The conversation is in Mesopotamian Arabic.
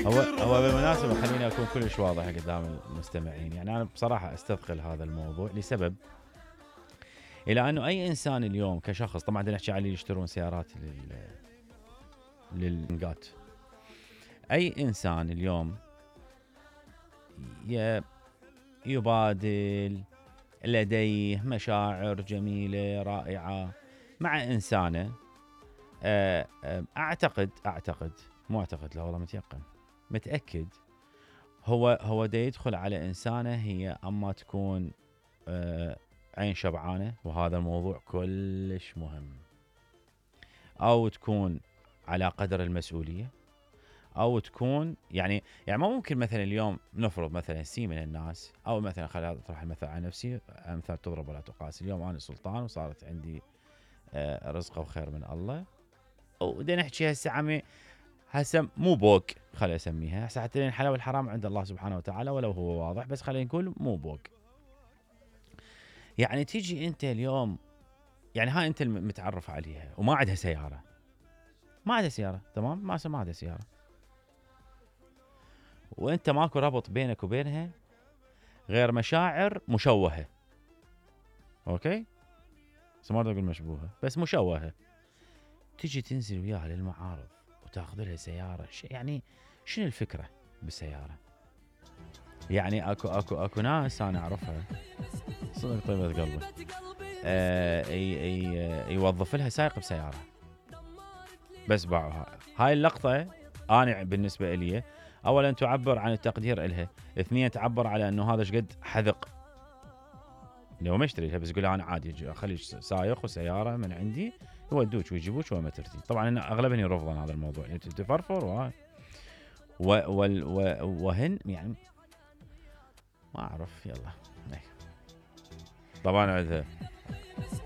هو بالمناسبة خليني أكون كلش واضح قدام المستمعين. يعني أنا بصراحة أستثقل هذا الموضوع لسبب، إلى أنه أي إنسان اليوم كشخص، طبعا نحكي على اللي يشترون سيارات للنقات، أي إنسان اليوم يبادل لديه مشاعر جميلة رائعة مع إنسانة، أعتقد مو أعتقد، لا والله متأكد هو دا يدخل على إنسانة هي أما تكون عين شبعانة، وهذا الموضوع كلش مهم، أو تكون على قدر المسؤولية، أو تكون يعني ما ممكن مثلا اليوم نفرض مثلا سي من الناس، أو مثلا خليني أطرح المثل على نفسي، أمثال تضرب ولا تقاس. اليوم أنا سلطان وصارت عندي رزقه وخير من الله، ودنا نحكي هسه مو بوق، خليني اسميها هسه، حتى الحلال والحرام عند الله سبحانه وتعالى ولو هو واضح، بس خلينا نقول مو بوق. يعني تيجي انت اليوم، يعني هاي انت المتعرف عليها وما عندها سياره، تمام، ما عندها سياره، وانت ماكو ربط بينك وبينها غير مشاعر مشوهه، اوكي، بس ما اقول مشبوهه، بس مشوهه. تيجي تنزل وياها للمعارض وتاخذ لها سياره، يعني شنو الفكره بالسياره؟ يعني اكو ناس انا اعرفها صدق طيبه قلبي، يوظف لها سائق بسياره بس باعوها. هاي اللقطه انا بالنسبه لي اولا تعبر عن التقدير الها، اثنين تعبر على انه هذا ايش قد حذق، لو ما اشتريها بس يقول انا عادي اخلي سائق وسياره من عندي يودوك ويجيبوك وين ما ترتي. طبعا انا اغلبهم يرفضون هذا الموضوع، يعني تفرفر وهن يعني ما اعرف. يلا طبعا عندها